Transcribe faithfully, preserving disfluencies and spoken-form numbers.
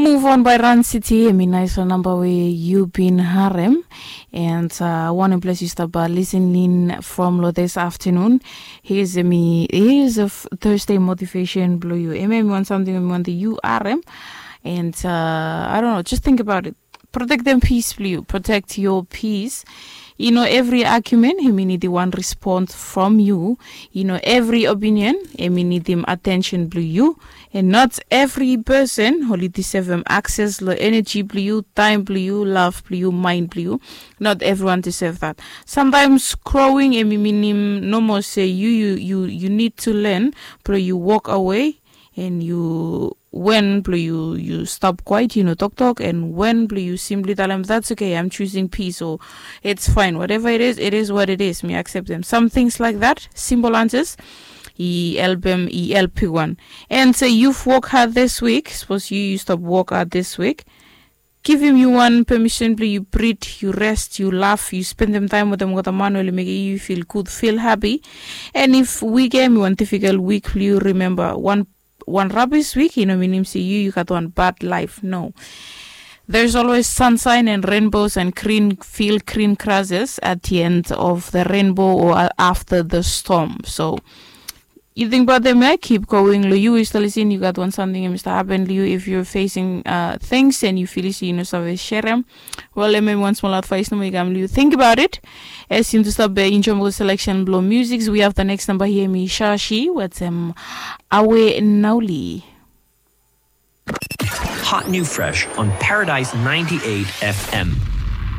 Move on by Run City, em i nais long namba we yu bin harem. And uh, wanem ples yu stap uh, listening from lo this afternoon. Here's me, here's a f- Thursday motivation blue you. Em em want something em want the U R M. And uh, I don't know, just think about it. Protect them peace blue you. Protect your peace. You know, every argument, he mean the one response from you. You know, every opinion, he mean the attention blue you. And not every person only deserve um, access lo energy blue you, time blue you, love blue you, mind blue you. Not everyone deserve that. Sometimes growing em i minim no more say you you you you need to learn, bro. You walk away and you when blue you you stop quiet, you know, talk talk, and when blue you simply tell them that's okay, I'm choosing peace, or it's fine, whatever it is, it is what it is, me accept them. Some things like that, simple answers. I album, I L P one. And say you've worked hard this week. Suppose you you stop work hard this week. Give him you one permission, play you breathe, you rest, you laugh, you spend them time with them with a man will make you feel good, feel happy. And if we game you one difficult week, you remember one one rubbish week, you know, meaning say you you got one bad life. No. There's always sunshine and rainbows and green field, green grasses at the end of the rainbow or after the storm. So you think about them, eh? Keep going. Lo you is still in. You got one something, Mister Happen. You, if you're facing uh, things and you feel you know, so share them. Well, let me one small advice. No, you think about it. As you to stop enjoying the selection blow music. We have the next number here, me Shashi. What's um, Awe Nauli. Hot new fresh on Paradise ninety-eight F M.